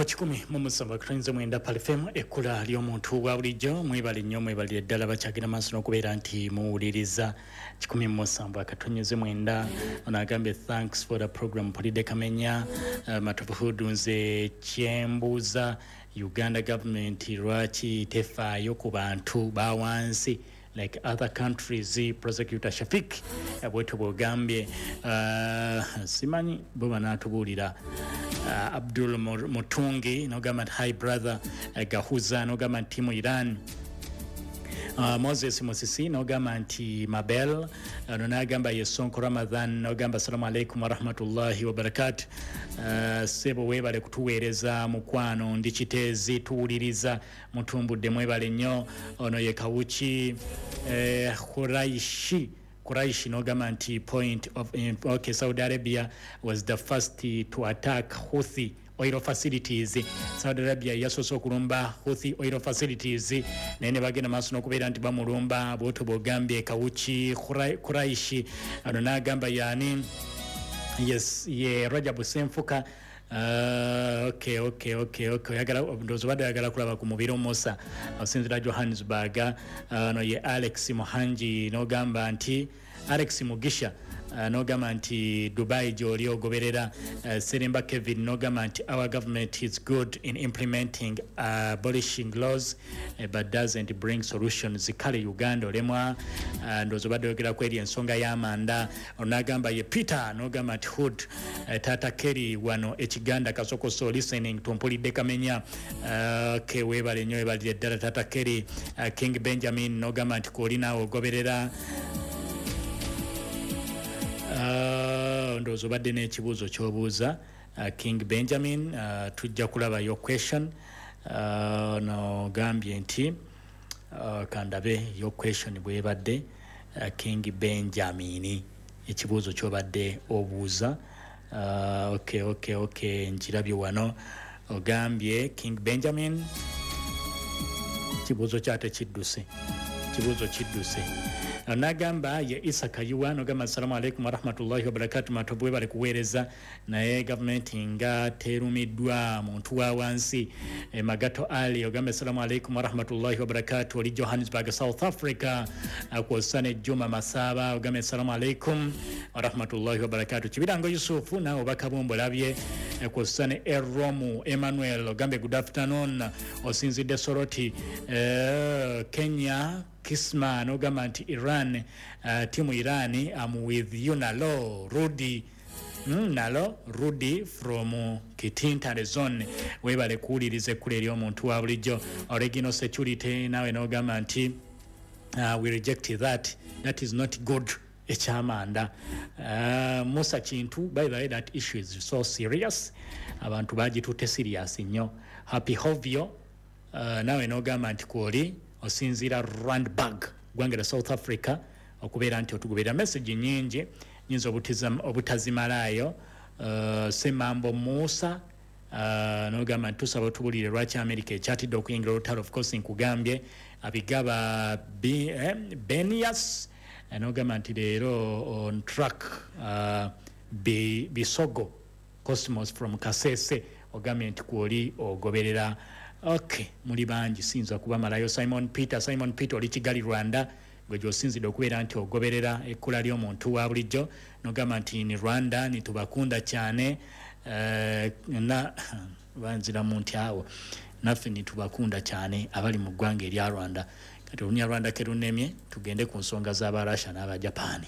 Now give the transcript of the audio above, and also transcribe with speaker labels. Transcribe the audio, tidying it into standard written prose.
Speaker 1: Ku 107.9 Pearl FM, ekkula ly'omuntu wa bulijjo. Mwebale nnyo, mwebalire ddala bakyagenda maaso n'okubeera nti muwuliriza 107.9. Ono agambye, "Thanks for the program." Polide Kamenya, Matovu. Nze kyembuuza, Uganda government lwaki tefaayo ku bantu ba wansi like other countries? Prosecutor Shafik, bwetyo bwogambye. Simanyi bo banaatubuulira. Abdul Mutungi nogamba nti, "Hi brother." Gahuza nogamba nti timu Iran. Moses Musisi nogamba nti Mabel. Ono nagamba ye Sonko Ramadhan, nogamba, "Assalamu alaikum warahmatullahi wabarakatu. Sebo webale kutuweereza mukwano, ndi Kiteezi, tuwuliriza mutumbudde." Mwebale nnyo. Ono ye Kawuki Khuraishi. Quraish nogamba nti point of, okay, "Saudi Arabia was the first to attack Houthi oil facilities." Saudi Arabia yasoose okulumba Houthi oil facilities, naye ne bagenda maaso n'okubeera nti bamulumba. Bwotyo bwogambye, Kawuki Quraishi. Ono n'agamba yaani? Yes, ye Rajabu Senfuka. Okay, oyagala, ndowooza obadde oyagala kulaba ku mubiri Musa, osinzira Johannesburg. Ono ye Alex Muhangi, n'ogamba nti Alex Mugisha, n'ogamba nti Dubai gy'oli ogoberera. Seremba Kevin n'ogamba nti, "Our government is good in implementing abolishing laws, but doesn't bring solutions." Kale Uganda olemwa. Ndowooza obadde oyogeraku eri ensonga y'amanda. Onagamba ye Peter, n'ogamba nti hood, Tata Kerry wano ekiganda kasokoso, listening, tumpulidde Kamenya. Ke weebale nnyo, weebalire ddala Tata Kerry. King Benjamin n'ogamba nti kwoli naawe ogoberera. Ndowooza obadde n'ekibuuzo ky'obuuza, King Benjamin. Tujja kulaba your question. Nogambye nti, kandabe your question bwebadde. King Benjamin, ekibuuzo ky'obadde obuuza. Okay, nkirabye wano. Ogambye King Benjamin, kibuuzo kyate kidduse, kibuuzo kidduse. Nagamba ye Isa Kayiwa, nogamba, "Assalamu alaikum warahmatullahi wabarakatu. Matovu, webale kuweereza, naye gavumenti nga terumiddwa muntu wa wansi." Magato Ali ogamba, "Assalamu alaikum warahmatullahi wabarakatu." Oli Johannesburg, South Africa. Kwossa ne Juma Masaba, ogamba, "Assalamu alaikum warahmatullahi wabarakatu." Kibirango Yusufu, naawe obakabumbu olabye. Kwossa ne Eromu Emmanuel, ogambye, "Good afternoon." Osinzidde Soroti, Kenya. Kisma nogamba nti Iran, timu Iran, am with you. Nalo Rudi, nalo Rudi from Kitintale zone. Webale kuwuliriza ekkula ery'omuntu wa bulijjo. Original Security, nawe nogamba nti, "We reject that, that is not good." Ekyamanda. Musa Kintu, by the way, that issue is so serious, abantu bagitutte serious nnyo. Happy Hovio, nawe nogamba nti kwoli osinziira Randburg, gwanga la South Africa, okubeera nti otugoberera. Message nyingi, nyinza obutazimalaayo. Semambo Musa, nogamba nti tusaba otubulire lwaki America ekyatidde okuyingira olutalo. Of course nkugambye. Abigaba Benias, nogamba nti leero on track. Bisogo Cosmos from Kasese, ogambye nti kwoli ogoberera. Ok, muli bangi, siyinza kubamalayo. Simon Peter, Simon Peter, oli Kigali, Rwanda, gwe gyosinzidde okubeera nti ogoberera ekkula ly'omuntu wa bulijjo. Nogamba nti ni Rwanda nitubakunda cyane. Na banziramu nti awo naffe nitubakunda cyane abali mu ggwanga erya Rwanda. Kati Olunyarwanda kerunemye, tugende ku nsonga z'Abarasha n'Abajapani.